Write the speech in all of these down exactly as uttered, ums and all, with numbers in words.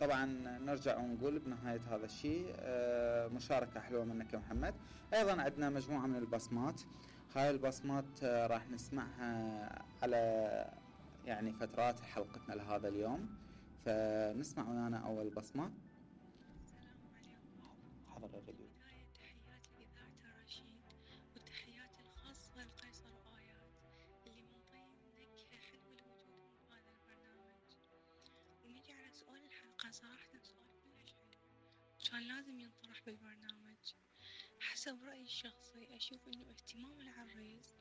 طبعا نرجع ونقول بنهاية هذا الشيء آه مشاركة حلوة منك يا محمد. أيضا عندنا مجموعة من البصمات. هاي البصمات آه راح نسمعها على يعني فترات حلقتنا لهذا اليوم، فنسمع ويانا أول بصمة. السلام عليكم. حضر الراديو. تحياتي لإذاعة الرشيد وتحياتي الخاصة لقيصر آيات اللي منطين نكهة حلوة لوجودهم بهذا البرنامج. ونجي على سؤال الحلقة، صراحة سؤال كلش حلو كان لازم ينطرح بالبرنامج. حسب رأيي الشخصي أشوف إنه اهتمام العريس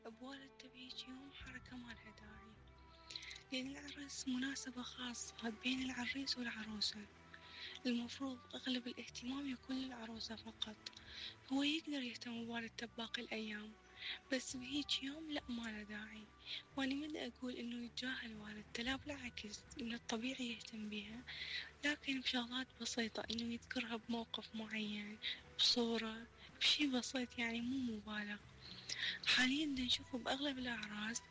بوالدته بهيج يوم حركة ما لها داعي، لأن العرس مناسبة خاصة بين العريس والعروسة، المفروض أغلب الاهتمام يكون للعروسة فقط. هو يقدر يهتم بوالدته بباقي الأيام، بس بهيج يوم لا ما له داعي. وأنا من أقول إنه يتجاهل والدته، لا بالعكس، إنه الطبيعي يهتم بيها، لكن بشغلات بسيطة، إنه يذكرها بموقف معين، بصورة، بشي بسيط يعني مو مبالغ. حاليا نشوفه بأغلب الأعراس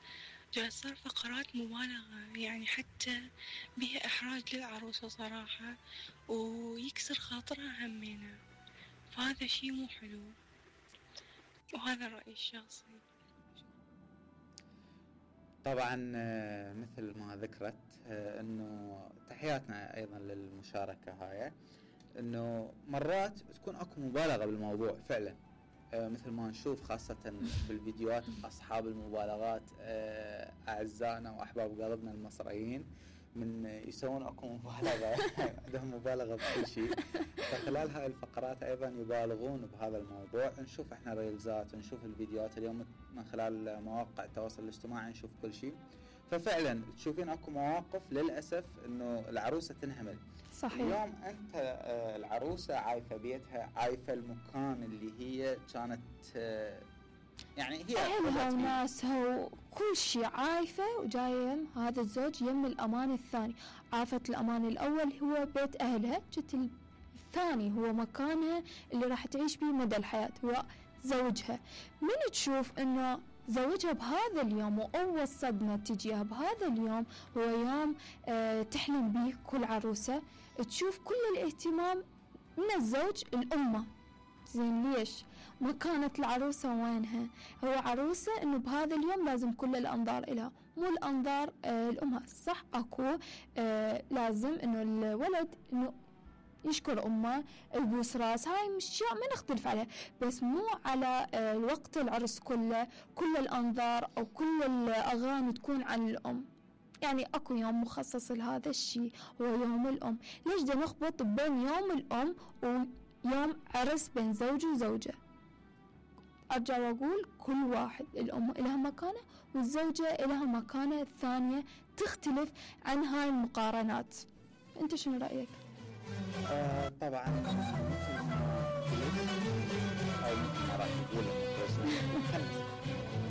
جاي صار فقرات مبالغة، يعني حتى بها إحراج للعروسة صراحة، ويكسر خاطرها همينة، فهذا شي مو حلو، وهذا رأيي الشخصي. طبعا مثل ما ذكرت انه تحياتنا ايضا للمشاركة هاي، انه مرات تكون اكو مبالغة بالموضوع فعلا، مثل ما نشوف خاصة بالفيديوهات أصحاب المبالغات أعزائنا وأحباب قلبنا المصريين من يسوون أكو مبالغة عندهم مبالغة بكل شيء. فخلال هاي الفقرات أيضا يبالغون بهذا الموضوع. نشوف إحنا ريلزات ونشوف الفيديوهات اليوم من خلال مواقع التواصل الاجتماعي، نشوف كل شيء. ففعلا تشوفين أكو مواقف للأسف إنه العروسة تنهمل. صحيح. اليوم أنت آه العروسة عايفة بيتها، عايفة المكان اللي هي كانت آه يعني هي أهلها وناسها وكل شيء عايفة، وجاية هذا الزوج يم الأمان الثاني. عافت الأمان الأول هو بيت أهلها، جت الثاني هو مكانها اللي راح تعيش به مدى الحياة، هو زوجها. من تشوف إنه زوجها بهذا اليوم وأول صدمة تجيها بهذا اليوم هو يوم أه تحلم به كل عروسة، تشوف كل الاهتمام من الزوج الأمة. زين ليش؟ مكانة العروسة وينها؟ هو عروسة إنه بهذا اليوم لازم كل الأنظار إلها، مو الأنظار أه الأمها. صح أكو أه لازم إنه الولد إنه يشكر أمه، يبوس راس، هاي مش ما نختلف عليها، بس مو على الوقت العرس كله كل الأنظار أو كل الأغاني تكون عن الأم. يعني أكو يوم مخصص لهذا الشيء هو يوم الأم. ليش دا نخبط بين يوم الأم ويوم عرس بين زوج وزوجة؟ أرجع وأقول كل واحد، الأم إلها مكانة والزوجة إلها مكانة ثانية تختلف عن هاي المقارنات. أنت شنو رأيك؟ آه طبعا